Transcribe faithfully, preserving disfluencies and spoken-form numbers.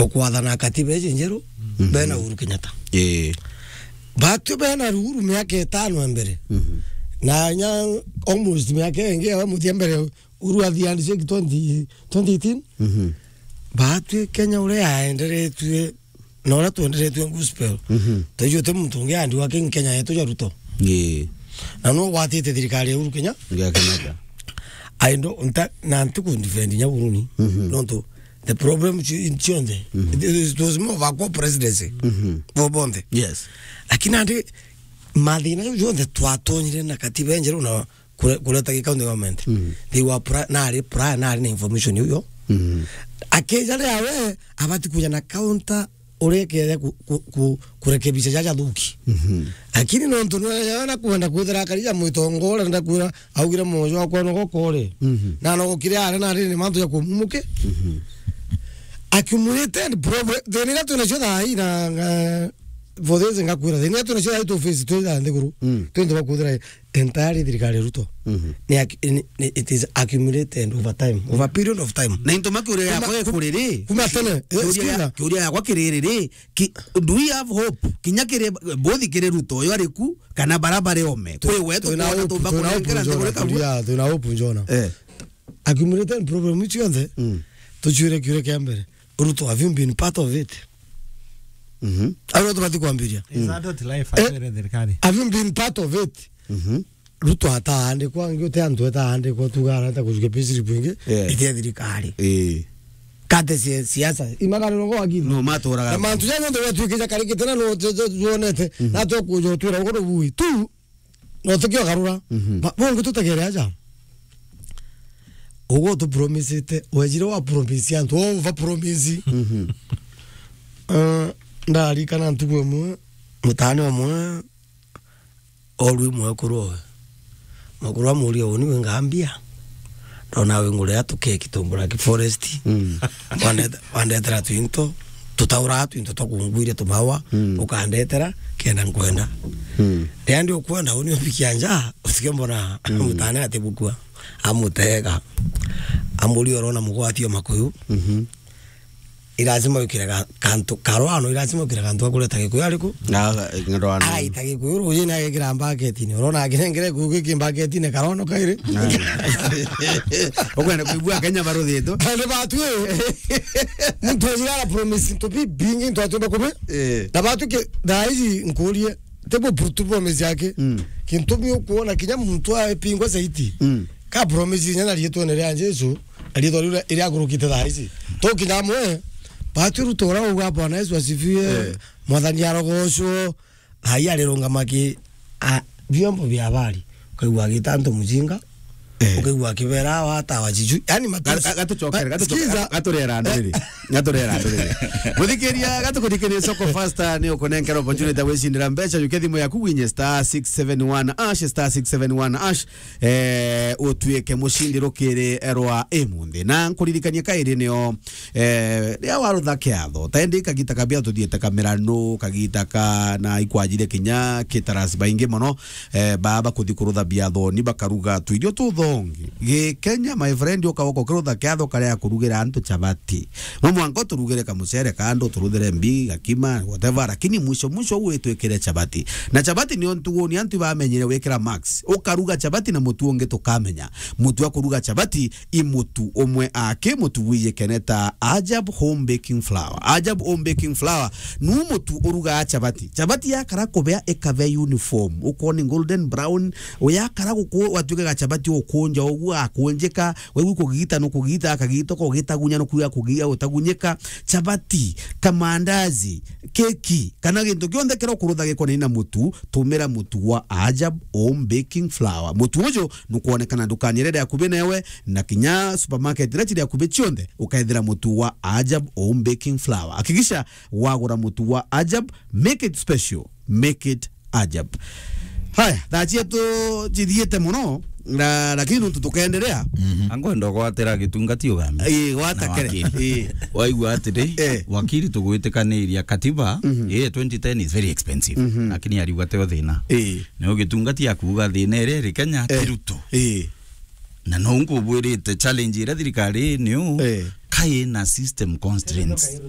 ukwathana katiba iji njeru, Mhm. bena Uhuru Kenyatta. Ii. Batwi bena Uhuru miaka itano ya mbere. Mhm. Na nya almost miaka ingi ya muthia mbere Uhuru athi handshake twenty, twenty eighteen. Mhm. Batwi Kenya uria yaenderetue, na uria twenderetue gospel. Mhm. Taijua ti muntu ungi andi wa King Kenya yetu ja Ruto. Ii. Na no gwatite thirikari ya Uhuru Kenya. Ngia Kenyatta. I don't, nta-, na ntiku defend nya Uhuru ni. Mhm. Nontu the problem ci-, cionthe. Mhm. It, it was more of a co-presidency. Mhm. Bo bonthe. Yes. Lakini andi mathina jau jonthe twatonyire na katiba enjeru na kure-, kureta gi county government. Mhm. They were pri-, nari prior, nari na information iu yo. Mhm. Akija ria we, abati kuja na counter uria ikeja ku-, ku-, ku-, kurekebisha jaja thuki. Mhm. Lakini nontu nwe na kwenda kwithira akari ja mwitongore, ndakwira augire mojo wakwa no gokore. Mhm. Na no gokire are na riri mantu ya kumumuke. Mhm. Accumulated problem. Thina iria twina cio thaa hii na, nga-, for this ngakwira. Thina iria twina cio thaa hii tu face tu thaa nthiguru. Mm. Twende bakwithira entirely thirikari ya Ruto. Mhm. Ni ac-, ni, ni, it is accumulated over time, over a period of time. Na into makiuria yakwa ikuriri. Kuma tene, eh, kiuria ya-, sikiza. Kiuria yakwa kiriri, ki-, do we have hope? Kinya kiri, both kiri Ruto uyu ari ku, kana bara bari ome. Kwi we twina tukwona hope, tumba twina hope kunengera njona, nthiguru kamwe. Turia, twina hope njona. Eh. Accumulated problem icio cionthe, Mm. tucwire kiuria kia mbere. Ruto, have you been part of it? Mhm. Au no tubati kwambiria. Is adult life, Eh, atwire thirikari. Have you been part of it? Mhm. Ruto ataandikwa, ngi uti antu etaandikwa, tuga arata kujukia payslip ingi, Yeah. iti ya thirikari. Eh. Kate cia-, siasa, imagariro go akili. No maturaga. Na mantu ja nontu gwatuikija karikite na no tu-, tu-, tuonete, Mhm. na tukuja utwira ugo rubui. Tu, no tukio garura. Mhm. Ma-, bongi tutegere aja. Ugo tu promisete, wejire wa promise antu, over promise. Mhm. Eh, ndarikana ntuku imwe, mutani umwe, orwi mwekuru owe. Mwekuru amuria, "Uni wi ngambia?" Ndona wi ngurira tukeki tu Black Forest. Mm. Wandete-, wandetera twinto, tutauraga twinto twa kungwiria tumawa, Mm. ukandetera, kenda nkwenda. Mm. Riria ndi ukwenda, uni umbikia nja, utike mbona Mm. mutane atibukua. Amutega. Amuria, "Urona mugwati o makuyu?" Mhm. Irazima wikire ga-, kantu, karwano, irazima wikire kantu ga kureta Gikuyu ariku? Na, eh, ndoano. Agaita Gikuyu rujini agekira mbaketini. Urona akirengere Gikuyu giki mbaketini karwano kairi? Ukwenda kuigua Kenya baruthitwe? Kandi batu, eh. Muntu ajira ara promise ntu bibingi ntu atumba kubi. Eh. Na batu ki, thaa ici nkurie, tebo tu promise yake. Mm. Kintu mi ukuona kinya muntu apingwa zaidi. Mm. Ka promise inya na riitwene ria Jesu, na riitwa riu ria-, iria agurukite thaa ici. Tukinya amwe, batu Ruto uria uga Bwana Yesu asifiwe, Eh. Mwathani arogocwo, thaa ii arirungama ki, a, vyombo vya habari. Ukaigua agita antu mujinga, Eh. ukaigua akibera awa ata wajiju. Yani matusi. Ga-, ga-, gatucokere, Ba-, gatucokere, sikiza. Gaturera andu riri. Gaturera andu riri. Muthikiria, gatukuthikiriria Soko Fasta, ni ukunenkera opportunity ya gwicindira mbeca, jukia thimu yaku winye star six seven one hash, star six seven one hash. Eh, utuike mucindi rukiri rwa imunthi. Na nkuririkanie kairi nio, eh, riria warutha kiatho, ta indi kagita kabia tuthiite kamiranu, kagita ka na ikwajire kinya kitaras baingi mono, eh, baba kuthi kurutha biathoni bakaruga tuirio tuthongi. Gi Kenya, my friend, ukaoka ukirutha kiatho karia kurugira antu chapati. No mwanka uturugire kamucere kando, uturuthere mbi, gakima, whatever, lakini mwisho mwisho ugwitwikire chapati. Na chapati nio ntugu ni antu bamenyire wikira max. Ukaruga chapati na mutu ungi tukamenya. Mutu wa kuruga chapati i mutu umwe aki mutu wijikeneta Ajab Home Baking Flour. Ajab Home Baking Flour nu mutu urugaa chapati. Chapati yakara kubea ikabea uniform. Ukoona ni golden brown, uyakara guku watuika ga chapati ukunja uguo akunjika, Waigu kugita no kugita, akagita ko gitagunya no kuga kugia utagunyika. Chapati, kamandazi, keki, kana gintu kionthe kira ukurutha gikonainie na mutu, tumira mutu wa Ajab Home Baking Flour. Mutu uju nukwonekana ndukani iria iri akubi newe, na kinya supermarket iria ciri akubi cionthe, ukaethira mutu wa Ajab Home Baking Flour. Hakikisha wagura mutu wa Ajab, make it special, make it Ajab. Haya, thaa cietu cithiite mono, na, lakini nontu tukenderea. Mhm. Angwenda gwatira gitungati ugambi. Ii, gwata Na kere. Wakili. Ii. Waigua atiri, Eh. wakili tugwitikaniria katiba, Mhm. ii, twenty ten is very expensive. Mhm. Lakini ariuga teo thina. Ii. Nio gitungati akuuga thina iria iri Kenya Eh. ti Ruto. Ii. Na no nkubwirite challenge iria thirikari niu Eh. kai na system constraints.